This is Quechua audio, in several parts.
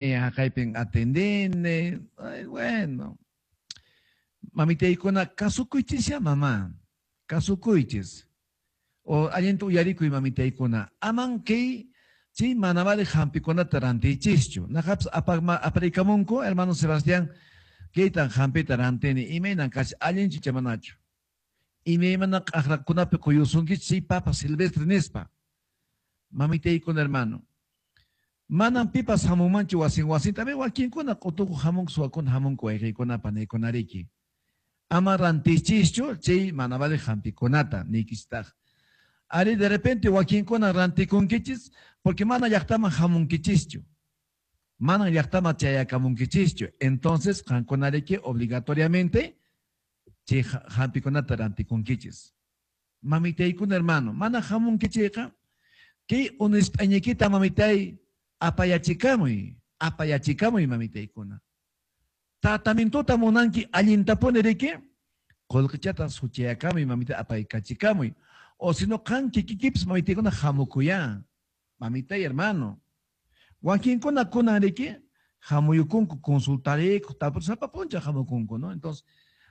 Haqaypin atendini. Ay, bueno. Mamitaykuna, kasukuychisya mamá. Kasukuychis. O allinta uyarikuy mamitaykuna. Aman kay chay mana vale hampikunata rantiychischu. Naqapas aparikamunku, hermano Sebastián, kaytan hampita rantini. Imaynan kachi allinchu icha manachu. Imaymana q'aqrakunapi quyusunkichis chay papa silvestre nispa. Mamitaykuna, hermano. Manan pipas hamunmanchu wasin wasinta. A wakinkuna q'utukuq hamunku, suwakuna hamunku wayqiykuna panaykunariki. Ama rantichischu chay mana vale hampikunata niykistaq. Ari de repente wakinkuna rantikunkichis porque mana llaqtaman hamunkichischu. Mana llaqtaman chayakamunkichischu. Entonces qankunariki obligatoriamente chay hampikunata rantikunkichis. Mamitaykuna hermano, mana hamunkichayqa kay unispañaykita mamitay apayachikamuy, apayachikamuy mamitaykuna. Tratamientota munanki allintapuni riki, qullqichata suchayakamuy mamita apaykachikamuy. O si no qan kikikipis mamitaykuna hamukuya. Mamitay hermano. Wakinkuna kunan riki, hamuyukunku consultarikuq, tapur sapa p'unchaw hamukunku, ¿no? Entonces,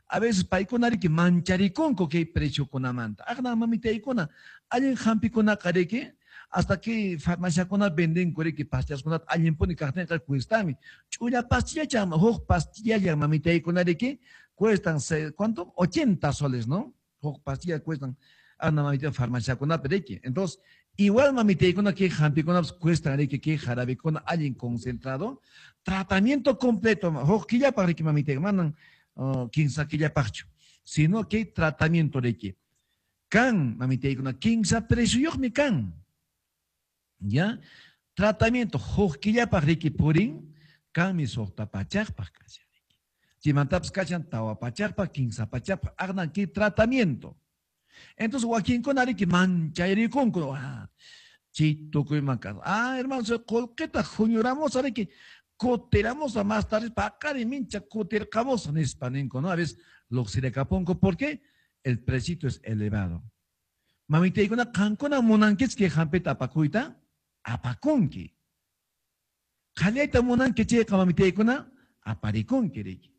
a veces paykuna riki mancharikunku kay preciokunamanta. Aqna mamitaykuna, allin hampikunaqa riki, hasta que farmaciakuna vendenku riki pastillaskunata allinpuni kaqtinqa cuestami. Ch'ulla pastillachan, huk pastillalla mamitaykuna riki, cuestan, ¿cuánto? 80 soles, ¿no? Huk pastilla cuestan aqna mamita farmaciakunapi riki. Entonces, igual mamitaykuna kay hampikunapas cuestan riki, kay jarabikuna allin concentrado. Tratamiento completo, huk killapaq riki mamitaykuna, manan kinsa killapaqchu, sino que tratamiento riki. Kan, mamitaykuna, kinsa precioyuqmi kan. ¿Ya? Tratamiento huk killapaq riki purin, kanmi suqta pachaqpaq kashan riki. Chaymantapas kashan tawa pachaqpaq, kinsa pachaqpaq, aqnan kay tratamiento. Entonces wakinkuna riki manchayrikunku, chay tukuyman kan. Ah, hermano, qullqita huñuramusa riki, kutiramusa más tarde, paqari mincha kutirqamusa nispa ninku, ¿no? A veces luqsirakapunku, ¿por qué? El precito es elevado. Mamitaykuna, qankuna munankichik kay hampita apakuyta, apakunki. Qallayta munanki chayqa mamitaykuna, aparikunki riki.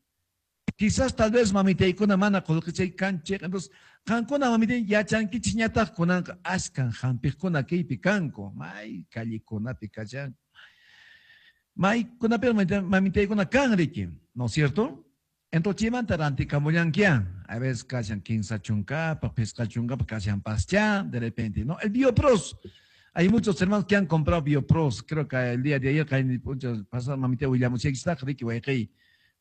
Quizás tal vez mamitaykuna mana qullqichay kanchik, entonces qankuna mamitay yachankichikñataq kunanqa ashkan hampiqkuna kaypi kanku, may callekunapi kashan. Maykunapi mamitaykuna kan riki, ¿no es cierto? Entonces chaymanta rantikamullankiya, a veces kashan kinsa chunkapaq, pisqa chunkapaq, kashan pascha, de repente, ¿no? El Biopros. Hay muchos hermanos que han comprado Biopros. Creo que el día de ayer, pasado, mamita willamuchikistaq, riki wayqey.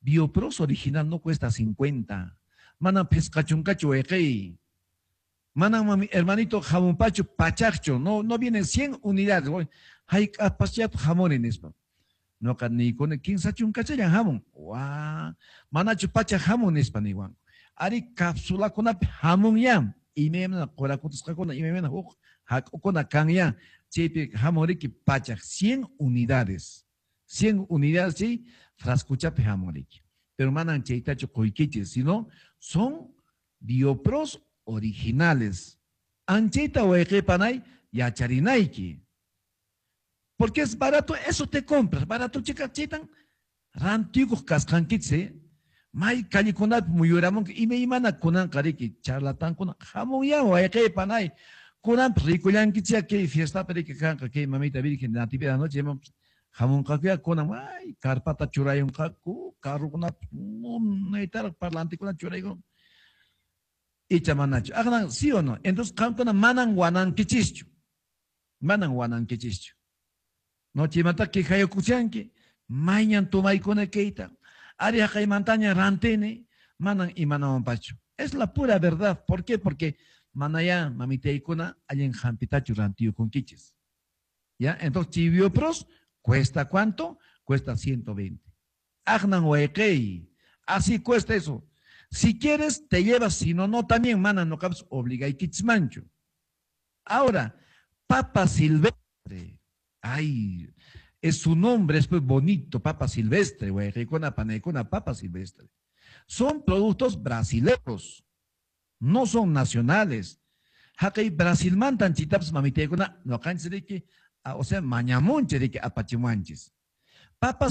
Biopros original no cuesta 50. Mana pisqa chunkachu wayqey. Mana mami, hermanito jamunpachu pachaqchu. No, no vienen 100 unidades. Hayk'apasllata jamuni nispa. Noqa niykuni kinsa chunkachallan hamun. Wa, manachu pachaq hamun nispa niwanku. Ari cápsulakunapi hamun ya. Imaymana qurakutusqakuna, imaymana huk hak'ukuna kan ya. Chaypi hamun riki pachaq 100 unidades. 100 unidades chay frascochapi hamun riki. Pero manan chaytachu quykichis, sino son Biopros originales. Anchayta wayqipanay yacharinayki. Porque es barato, eso te compras. Barato chica chaytan rantikuq kasqankichis, May callekunapi muyuramunki imaymana kunanqa riki charlatankuna hamunya wayqipanay. Kunanpas rikullankichik kay fiestapi riki kanqa kay mamita virgen de Natividad noche hamunqakuya kunan ay carpata churayunqaku carrukunapi munaytaraq parlantekuna churaykun. Icha manachu. Aqnan, ¿sí o no? Entonces qamkuna manan wanankichischu. Manan wanankichischu. No chaymanta quejayukuchanki, mayñan tomaykuna kayta. Ari haqaymantaña rantini, manan imanawanpachu. Es la pura verdad. ¿Por qué? Porque manaya mamitaykuna allin hampitachu rantiyukunkichis. ¿Ya? Entonces, Biopros cuesta ¿cuánto? Cuesta 120. Aqnan wayqey. Así cuesta eso. Si quieres, te llevas. Si no, no también, mana, no cabes, obligaykichmanchu. Ahora, papa silvestre. Ay, es su nombre, es pues bonito, papa silvestre, wayqeykuna, panaykuna, papa silvestre. Son productos brasileños, no son nacionales. Haqay Brasilmantan chitapas mamitaykuna, noqanchis riki, o sea, mañamunchis riki apachimuanchis. Papa.